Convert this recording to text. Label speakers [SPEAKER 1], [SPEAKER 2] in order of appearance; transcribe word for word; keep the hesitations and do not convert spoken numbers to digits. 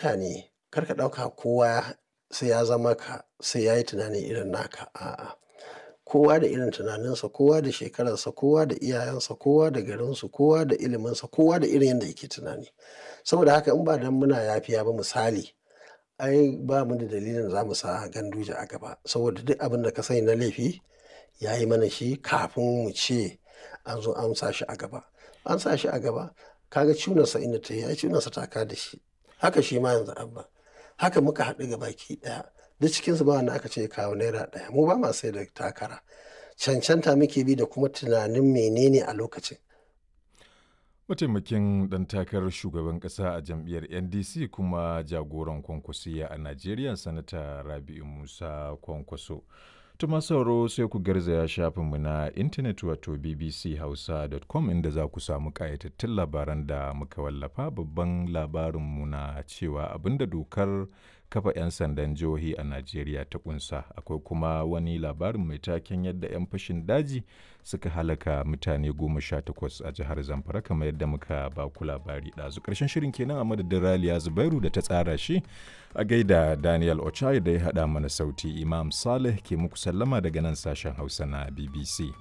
[SPEAKER 1] Mutane kar ka ɗauka kowa sai ya zama ka, sai ya yi tunani irin naka. A'a, kowa da irin tunaninsa, kowa da shekararsa, kowa da iyayensa, kowa da garinsu, kowa da iliminsa, kowa da irin yadda yake tunani. Saboda haka in ba don muna yafiya ba misali, ai ba mu da dalilin da za mu sa Ganduje a gaba. Saboda duk abin da ka sani na laifi ya yi mana shi kafin mu ce an zo an sa shi a gaba. An sa shi a gaba, ka ga cunarsa inda ta yi, ai cunarsa ta ka da shi. Haka shi ma yanzu Abba. Haka muka haɗu gabaki ɗaya. Duk cikinsu ba wanda aka ce ya kawo naira ɗaya. Mu ba ma sai da takara. Cancanta muke bi da kuma tunanin menene a lokacin.
[SPEAKER 2] Mataimakin ɗan takarar shugaban ƙasa a jam'iyyar N D C kuma jagoran Kwankwasiyya a Najeriya, Sanata Rabi'u Musa Kwankwaso. To masu sauraro, sai ku garzaya shafinmu na intanet wato B B C hausa dot com inda za ku samu ƙayatattun labaran da muka wallafa. Babban labarinmu na cewa abinda dokar kafa 'yan sandan jihohi a Najeriya ta kunsa. Akwai kuma wani labarin mai taken yadda 'yan fashin daji suka halaka mutane goma sha takwas a jihar Zamfara, kamar yadda muka ba ku labari ɗazu. Ƙarshen shirin kenan a madadin Raliya Zubairu da ta tsara shi, a gaida Daniel Ochai da ya haɗa mana sauti. Imam Saleh ke muku sallama daga nan sashen Hausa na B B C.